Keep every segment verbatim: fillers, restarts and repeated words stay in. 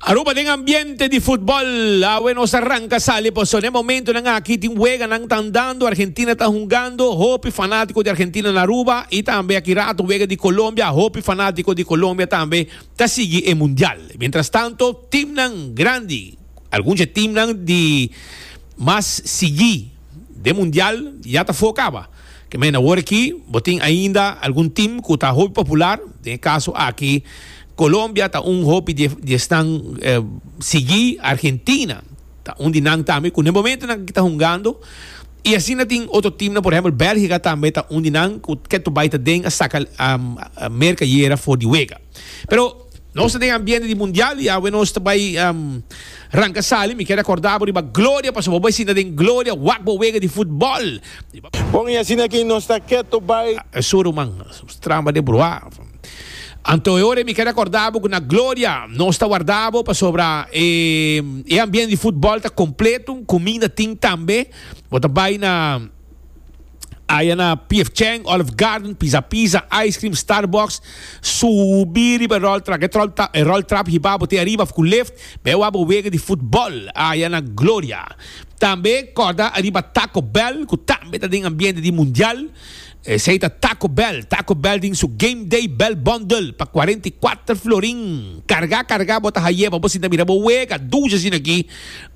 Aruba den ambiente di futbol. Awe nos a ranca sali paso na e momentonan aki tin weganan ta andando. Argentina ta hungando. Hopi fanatico di Argentina na Aruba y tambe aki rato wega di Colombia. Hopi fanatico di Colombia tambe ta sigui e Mundial. Mientras tanto, teamnan grandi, algun teamnan di mas sigui den Mundial ya ta afo caba. Ke men awor aki, bo tin ainda algun team cu ta hopi popular, den caso aki Colombia ta un hopi di, di esnan eh, sigui. Argentina ta un di nan tambe cu na momentonan ta hungando y asina tin otro team, por ehempel Belgica tambe ta un di nan cu ta bay ta den a saca um, Merca ayera for di wega. Pero nos tin ambiente di Mundial y awe nos bay um, ranca sali. Mi kier recorda riba Gloria, paso bo sinta den Gloria, wak bo wega di futbol. Bon, y asina aki nos ta keto bay. Suru man, tramba de bruá. Anto ora mi kier recorda cu na Gloria nos ta warda bo pasobra e, e ambiente di futbol ta completo, cuminda tin tambe. Bo ta bay na aya na P F. Chang, Olive Garden, Pizza Pizza, Ice Cream, Starbucks, subi riba roll trap, e roll, e roll trap hiba bo te ariba cu lift, bay bo wega di futbol aya na Gloria. Tambe corda ariba Taco Bell, cu tambe ta den ambiente di Mundial. Esey ta Taco Bell. Taco Bell tin su Game Day Bell Bundle pa cuarenta y cuater florin. Carga, carga, bo ta haye, pa bo sinta mira bo wega, dushi asina aki,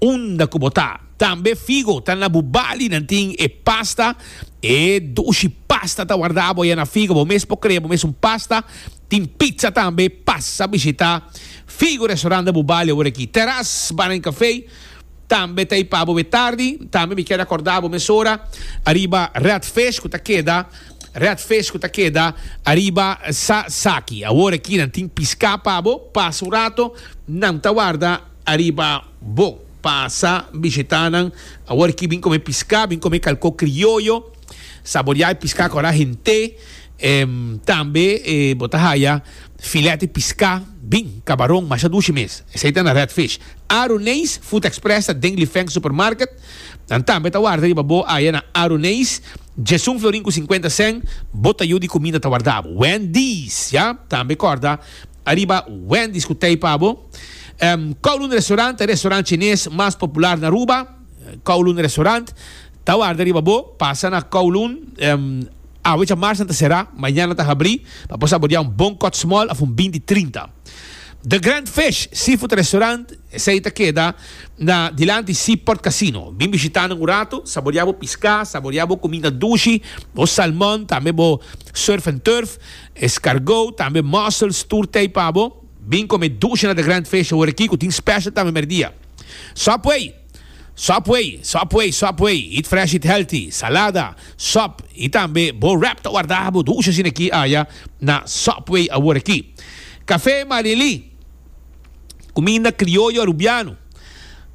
unda cu bo ta. Tambe Figo, ta na Bubali, nan tin e pasta, e dushi pasta ta warda bo na Figo, bo mes por crea, bo mes un pasta, tin pizza tambe. Pasa bishita Figo Restaurant na Bubali awor aki. Terrace Bar and Café, tambe ta pa bo tardi. Tambe mi kier recorda bo mesora ariba Red Fish, cu ta keda Red Fish, cu ta keda ariba Sa Saki. Awor aki nan tin pisca pa bo, pasa un rato, nan ta warda ariba bo. Pasa bishita nan. Awor aki bin come pisca, bin come calco crioyo, saborea pisca cu hende. Um, tambe eh, bo ta haya filete pisca, bin, cabaron, masha dushi mes. Esey ta na Red Fish. Aruneis Food Express ta den Lifeng Supermarket. Dan tambe ta warda riba bo aya na Aruneis. Diesun florin cu cincuenta cent, bo tayo di cuminda ta warda bo. Wendy's, ya? Tambe corda ariba Wendy's cu t'ey pa bo. Um, Kowloon Restaurant, restaurant chines mas popular na Aruba. Kowloon Restaurant ta warda riba bo, pasa na Kowloon. Um, awe diamars ta sera, mañan ta habri, pa por saborea un bon cut small of un binti trinta. The Grand Fish Seafood Restaurant, esey ta keda na dilanti Seaport Casino. Bin bishita un rato, saborea bo pisca, saborea bo cuminda dushi, bo salmon, tambe bo surf and turf, escargot, tambe mussels, tur t'ey pa bo. Bin come dushi na The Grand Fish awor aki, cu tin special tambe merdia. Subway, Subway, Subway, Subway, eat fresh, eat healthy, salada, sub y tambe bo wrap ta warda bo dushi asina aki aya na Subway awor aki. Café Marili, cuminda crioyo arubiano.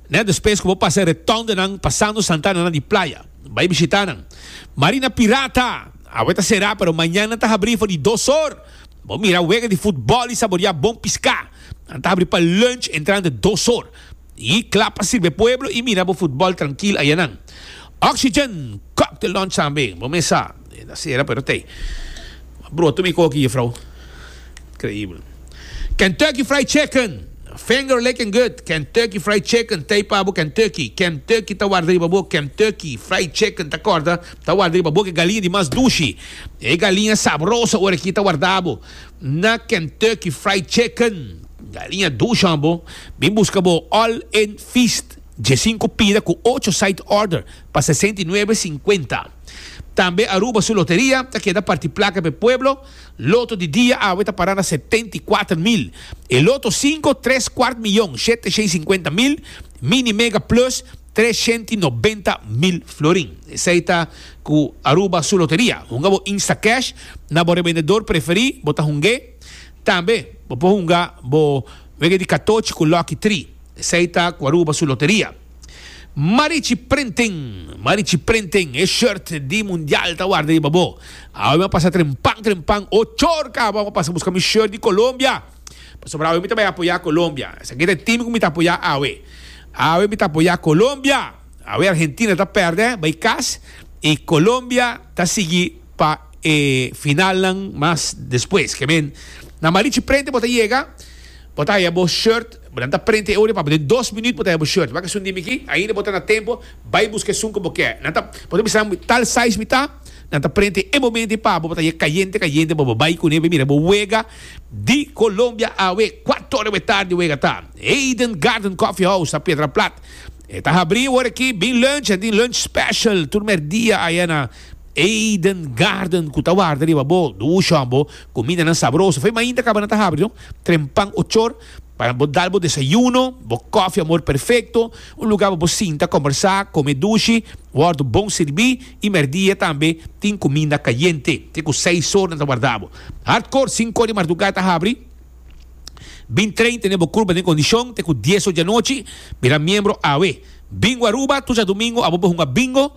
Ne, despues cu bo pasa rotonde nan pasando Santana na di Playa. Bay bishita nan. Marina Pirata, awe ta sera, pero mañan ta habri for di dos or. Bo mira wega di futbol y saborea bon pisca. Ta habri pa lunch entrando dos or. Y cla pa sirbi pueblo y mira bo futbol trankil aya nan. Oxygen Cocktail Lounge tambe. Bo mesa. Ta sera, pero t'ey. Broto mi coki, juffrouw. Increibel. Kentucky Fried Chicken. Finger licking good. Kentucky Fried Chicken. T'ey pa bo Kentucky. Kentucky ta warda riba bo. Kentucky Fried Chicken ta corda. Ta warda riba bo cu galiña di mas dushi. E galiña sabroso awor aki ta warda bo na Kentucky Fried Chicken. Galiña dushi bo. Bin busca bo All In Feast. Diescinco pida cu ocho side order pa sesenta y nuebe cincuenta. Tambe Aruba su loteria, ta keda parti placa pa pueblo. Loto di dia awe ta para na setenta y cuater mil. E Loto cinco, tres cuart miyon, shete cincuenta mil. Mini Mega Plus, trescientos noventa mil florin. Esey ta cu Aruba su loteria. Hunga bo Instacash na bo revendedor preferi, bo ta hung'e. Tambe, bo por hunga bo wega di catochi cu Lucky three. Esey ta cu Aruba su loteria. Marichi Printing, Marichi Printing, e shirt di Mundial ta warda riba bo. Awe mi a pasa trempan, trempan, ocho or caba, mi a pasa busca mi shirt di Colombia. Pasobra awe mi ta bay apoya Colombia. Esaki ta e team cu mi ta apoya awe. Awe mi ta apoya Colombia. Awe Argentina ta perde, bay cas, y Colombia ta sigui pa eh, final nan mas despues. Ke men, na Marichi Printing bo ta yega, bo ta haya bo shirt. Nan ta print e ora pa bo den dos minuut bo ta haya bo shirt. Wak esun di mi aki, ainda bo ta na tempo, bay busca esun cu bo kier. Nan ta, bo ta bisa tal size mi ta, nan ta print e momento ei pa bo, bo ta haya cayente cayente pa bo bay cune bay mira bo wega di Colombia awe. Cuatro ora tardi wega ta. Eden Garden Coffee House na Piedra Plat. E ta habri awor aki, bin lunch, e tin lunch special tur merdia aya na Eden Garden cu ta warda riba bo. Dushi bo, cumindanan sabroso. Fe mainta caba nan ta habri, no? Trempan ochor. Pa bo dal bo desayuno, bo koffie amor perfecto, un lugar pa bo sinta, conversa, come dushi, wordo bon sirbi y merdia tambe tin cuminda cayente. Te cu seis or nan ta warda bo. Hardcore, cinco or di marduga ta habri. Bin train, tene bo curpa den condicion, te cu dies or di anochi, bira miembro awe. Bingo Aruba, tur djadomingo, abo por hunga bingo.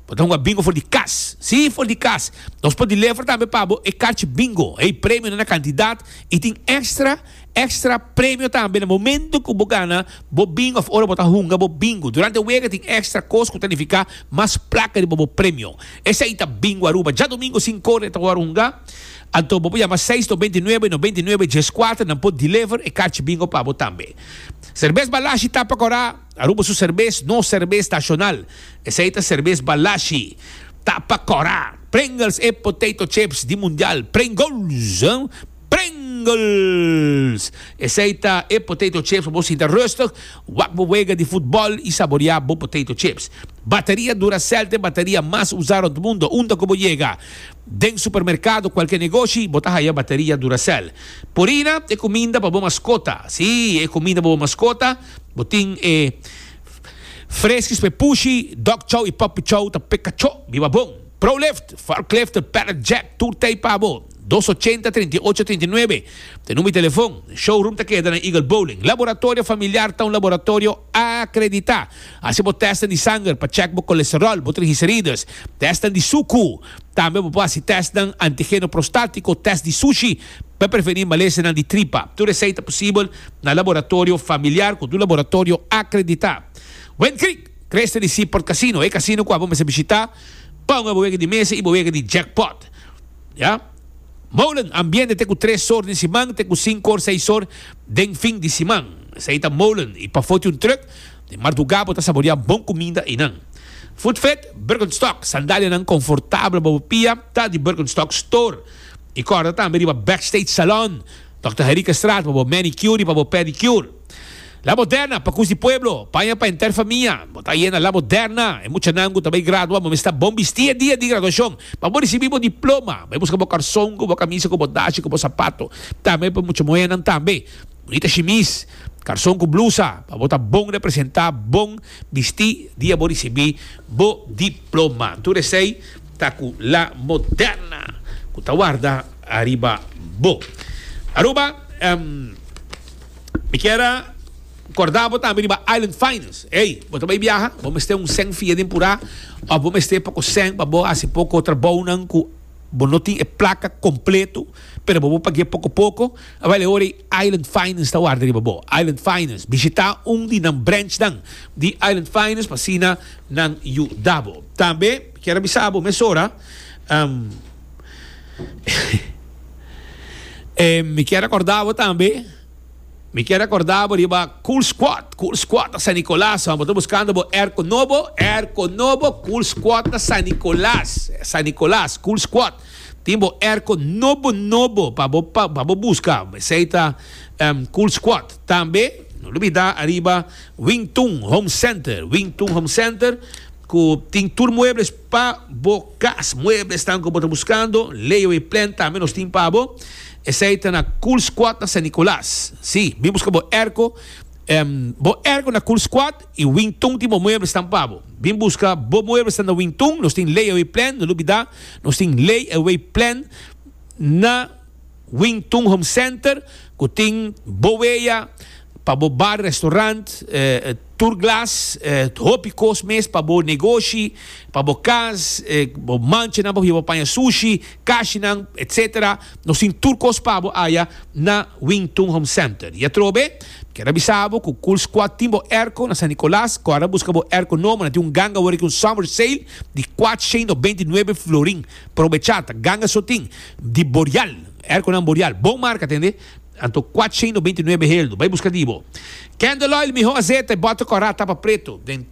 Bo ta hunga bingo for di cas. Si, for di cas. Nos por deliver tambe pa bo e carchi bingo. Hey, premio na cantidad y tin extra, extra premio tambe na momento cu bo gana bo bingo of ora bo ta hunga bo bingo. Durante wega tin extra cos cu ta nifica mas placa di bo premio. Esey ta Bingo Aruba. Djadomingo cinco or ta ora hunga. Anto bo por yama seis noventa i nuebe, noventa i nuebe, dies kuater, nan por deliver e carchi bingo pa bo tambe. Cerbes Balashi tapa cora. Aruba su cerbes, no cerbes nacional. Esey ta Cerbes Balashi. Tapa cora. Pringles e potato chips di mundial. Pringles, hein? Pringles! Esey ta e potato chips pa bo sinta rustig, wak bo wega di futbol y saborea bo potato chips. Bateria Duracell ta e bateria mas usa rond mundo. Unda cu bo yega? Den supermercado, cualke negoshi, bo ta haya bateria Duracell. Purina, e cuminda pa bo mascota. Si, e cuminda pa bo mascota. Bo tin e fresquis pa e pushi, dog chow y puppy chow ta pe cacho. Biba bon. Prolift, forklift, pallet jack, tur tey pa bo. Dos ochenta, treinta i ocho, treinta i nuebe. Te number di telefon. Showroom ta keda na Eagle Bowling. Laboratorio Familiar ta un laboratorio acredita. Haci bo testen di sanger pa check bo colesterol, bo triglicerides, testen di sucu. Tambe bo por haci testnan antigeno prostatico, test di sushi pa preveni malesanan di tripa. Tur esey ta posibel na Laboratorio Familiar cu tur laboratorio acredita. Wind Creek, cresta di Seaport Casino, e casino cu abo mester bishita pa un bo wega di mesa y bo wega di jackpot. Ya. Molen, ambiente te cu tres or den siman, te cu cinco or, seis or den fin di siman. Esey ta Molen. Y pafo tin un truck, den marduga bo ta saborea bon cuminda eynan. Foot Fit, Birkenstock, sandalianan confortabel pa bo pia, ta di Birkenstock Store. Y corda tambe riba Backstage Salon, Dokter Henriquezstraat, pa bo manicure y pa bo pedicure. La Moderna, pa cus di pueblo, paña pa enter famia. Bo ta yena La Moderna. E muchanan cu ta bay gradua, bo mester bon bisti e dia di graduacion. Pa bo ricibi bo diploma, bay busca bo carson cu bo camisa, cu bo dashi, cu bo sapato. Tambe pa mucha muhernan tambe. Bonita shimis, carson cu blusa, pa bo ta bon representa, bon bisti dia bo ricibi bo diploma. Tur esey ta cu La Moderna, cu ta warda ariba bo. Aruba, um, mi kier a corda bo tambe riba Island Finance. Ey, bo ta bay biaha, bo mester un cent fia den pura, of bo mester poco cent pa bo haci poco trabounan cu bo no tin e placa completo, pero bo bo pague poco poco. Awel, e ora ei Island Finance ta warda riba bo. Island Finance, bishita un di nan branchnan di Island Finance pa asina nan yuda bo. Tambe, kier a bisa bo mesora, um, eh, mi kier acorda bo tambe, mi kier acorda bo riba Cool Squad. Cool Squad na San Nicolas. Bo ta buscando bo airco nobo, airco nobo, Cool Squad na San Nicolas. San Nicolas, Cool Squad. Tin bo airco nobo, nobo pa bo, pa, pa bo busca. Esey ta, um, Cool Squad. Tambe, no lubida arriba Wing Tun Home Center. Wing Tun Home Center, cu tin tur muebles pa bo cas. Muebles tan cu bo ta buscando. Layaway plan tambe nos tin pa bo. Esey ta na Cool Squad na San Nicolas. Si, bin busca bo airco. Em, bo airco na Cool Squad y Wing Tun tin bo muebles tan pa bo. Bin busca bo muebles tan na Wing Tun. Nos tin layaway plan, no lubida. Nos tin layaway plan na Wing Tun Home Center, cu tin bo weya pa bo bar, restaurant, eh, tour glass, eh, hopi cos mes pa bo negoshi, pa bo cas, eh, bo mancha nan, bo hiba paña sushi, kashinan, et cetera. Nos tin tur cos pa bo aya na Wing Tun Home Center. Y atrobe, kier a bisa bo cu Cool Squad tin bo airco na San Nicolas, cu ora busca bo airco nobo, na tin un ganga awor aki un summer sale di cuatrocientos noventa y nuebe florin. Probechata, ganga so tin di Boreal, airco nan Boreal, bon marca, tende? Anto kuater nobenta i nuebe heldu. Bai buska di bo. Candle oil, mihó azeta, bòter kòrá, tapa pretu. Den